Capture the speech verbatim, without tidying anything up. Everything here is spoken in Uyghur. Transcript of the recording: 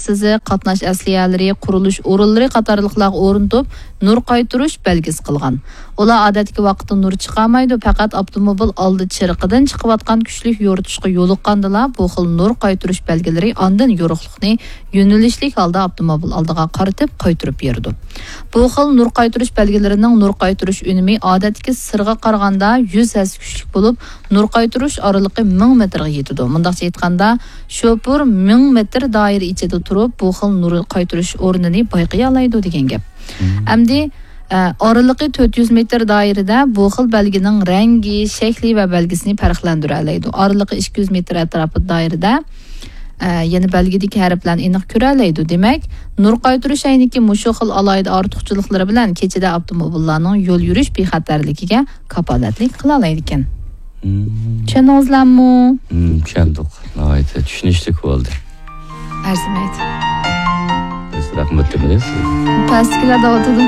سىزىق، قاتناش ئەسلىھەلىرى، قۇرۇلۇش ئورۇنلىرى قاتارلىقلارغا ئورنىتىپ، نۇر قايتۇرۇش بەلگىسى قىلغان. ئۇلار ئادەتتىكى ۋاقىتتا نۇر چىقارمايدۇ، پەقەت ئاپتوموبىل ئالدى چىرىقىدىن چىقىۋاتقان كۈچلۈك يورۇتۇشقا يولۇققاندىلا، بۇ خىل نۇر قايتۇرۇش بەلگىلىرى ئاندىن يورۇقلۇقنى يۆنىلىشلىك ھالدا ئاپتوموبىل ئالدىغا قارىتىپ قايتۇرۇپ بېرىدۇ. بۇ خىل نۇر قايتۇرۇش بەلگىلىرىنىڭ نۇر قايتۇرۇش ئۈنۈمى ئادەتتىكى سىرغا قارىغاندا يۈز ھەسسە كۈچلۈك بولۇپ، نۇر قايتۇرۇش ئارىلىقى مىڭ مېتىرغا يېتىدۇ. مۇنداقچە ئېيتقاندا، شوپۇر مىڭ مېتىر دائىرە ئىچىدە تۇرۇپ، بۇ خىل نۇر قايتۇرۇش ئورنىنى بايقىيالايدۇ دېگەن گەپ. ئەمدى، ئە، ئارىلىقى تۆت يۈز مېتىر دائىرىدە بۇ خىل بەلگىنىڭ رەڭگى، شەكلى ۋە بەلگىسىنى پەرقلەندۈرەلەيدۇ. ئارىلىقى ئىككى يۈز مېتىر ئەتراپىدا دائىرىدە، ئە، يەنە بەلگىدىكى ھەرپلەرنى ئېنىق كۆرەلەيدۇ. دېمەك، نۇر قايتۇرۇش ئەينىكى مۇشۇ خىل ئالاھىدە ئارتۇقچىلىقلىرى بىلەن كېچىدە ئاپتوموبىللارنىڭ يول يۈرۈش بىخەتەرلىكىگە كاپالەتلىك قىلالايدىكەن. مم. چۈشەندىڭىزلەرمۇ؟ مم، چۈشەندۇق. ناھايىتى چۈشىنىشلىك بولدى. ئەرزىمەيدۇ. بىز رەھمەت دېمەيلى سىزگە. پەستىكىلەر دەۋاتىدۇ.